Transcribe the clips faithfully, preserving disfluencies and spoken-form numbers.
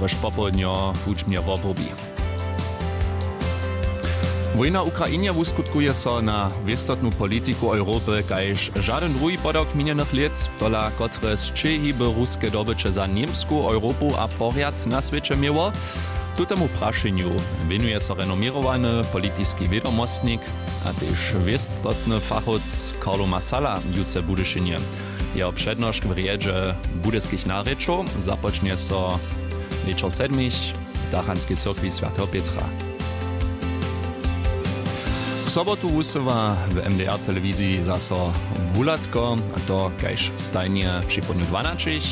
Rješ popołdnjo hudźbnje wobrubi. Wójna w Ukrainje wuskutkuje so na wěstotnu politiku Europy kaž žadyn druhi podawk minjenych lět, tola kotre sćěhiby ruske dobyće za Němsku, Europu a porjad na swěće měło. Tutomu prašenju wěnuje so renoměrowany politiski wědomostnik a tež wěstotny fachowc Carlo Massala jutře w Budyšinje. Jeho přednošk w rjedźe budyskich narěčow započnje so wječor sedmich w tachanskej cyrkwi swjateho Pětra. K sobotu wusyła w M D R telewiziji zaso wuhladko, a to kaž stajnje při połdnju dwanaćich.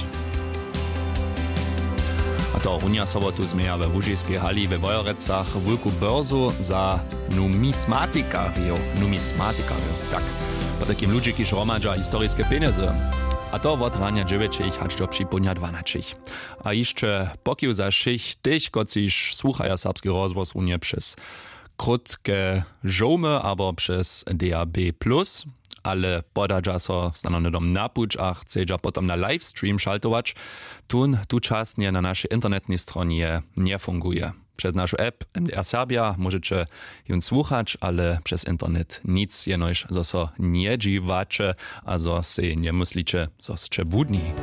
A to runja sobotu změja we łužiskej hali we Wojerecach wulku börzu za numismatikarjow, numismatikarjow, tak, potajkim ludźi, kiž hromadźa historiske pjenjezy. A to wot ranja dźewjećich hač do připołdnja dwanaćich. A hišće pokiw za wšěch tych, kotřiž słuchaja Serbski rozhłos runje přez krótke žołmy abo přez D A B plus, ale podadźa so snano hnydom na puć a chcedźa potom na livestream šaltować, tón tučasnje na našej internetnej stronje njefunguje. Přez našu app M D R Serbia móžeće jón słuchać, ale přez internet nic, jenož zo so njedźiwaće a zo sej njemysliće, zo sće budni.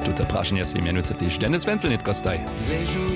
Tute prašenje sej mjenujcy tež Dennis Wenzel nětko staj. Wježu